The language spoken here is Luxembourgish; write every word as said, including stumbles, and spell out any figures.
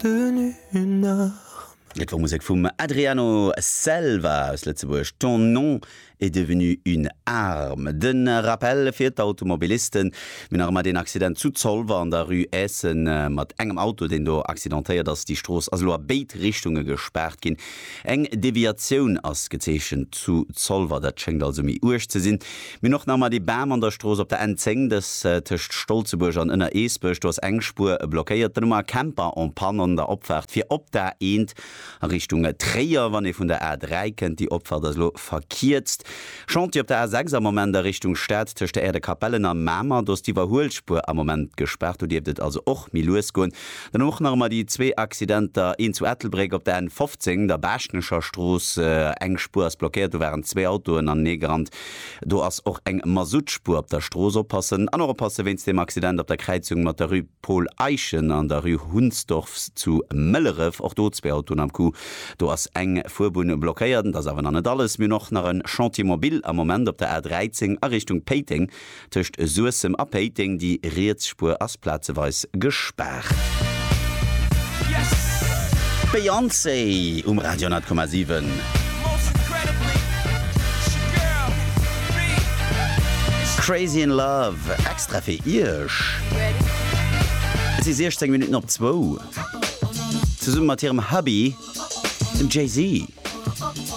Devenu une arme. Et wor Musek vum Adriano Selva aus Lëtzebuerg, Ton nom est devenu une arme. De Rappel fir d'Automobilisten, Mir hunn nach ëmmer deen Accident zu Zolwer an der Rue Essen mat engem Auto, deen do accidentéiert ass. Déi Strooss ass elo a béid Richtunge gespaart ginn. Eng Deviatioun ass gezeechent zu Zolwer, dat schéngt also méi uerg ze sinn. Mir hunn och nach ëmmer dee Bam an der Strooss op der N zéng, dës tëscht Stolzebuerg an Ënner-Eesbech, do ass eng Spuer blockéiert. Dann hu mer e Camper en panne an der Opfaart fir op d'A eent a Richtung Tréier, wann ee vun der A dräi kënnt. Déi Opfaart ass elo verkierzt. Chantier op der A sechs am Moment a Richtung Stad tëscht der Aire de Capellen a Mamer. Do ass d'Iwwerhuelspuer am Moment gespaart, do dierft et also och méi lues goen. Dann och nach ëmmer déi zwee Accidenter, een zu Ettelbréck op der N fofzéng, der Baaschtnecher Strooss, eng Spuer ass blockéiert, do waren zwee Autoen anenee gerannt. Do ass och eng Masuttspuer op der Strooss, oppassen. An och oppasse wéinst deem Accident op der Kräizung mat der Rue Paul Eyschen an der Rue Hunsdorf zu Mëlleref, och do zwee Autoen am Coup, do ass eng Fuerbunn blockéiert. Dat ass awer nach net alles, mir hunn och nach e Chantier mobile am Moment op der A dräizéng a Richtung Péiteng, tëscht Suessem a Péiteng. Déi riets Spuer ass plazeweis gespaart. Beyoncé um Radio honnert Komma siwen. Crazy in Love, extra fir Iech. Et si siechzéng Minutten op zwou. Zesumme mat hirem Hubby, dem Jay-Z.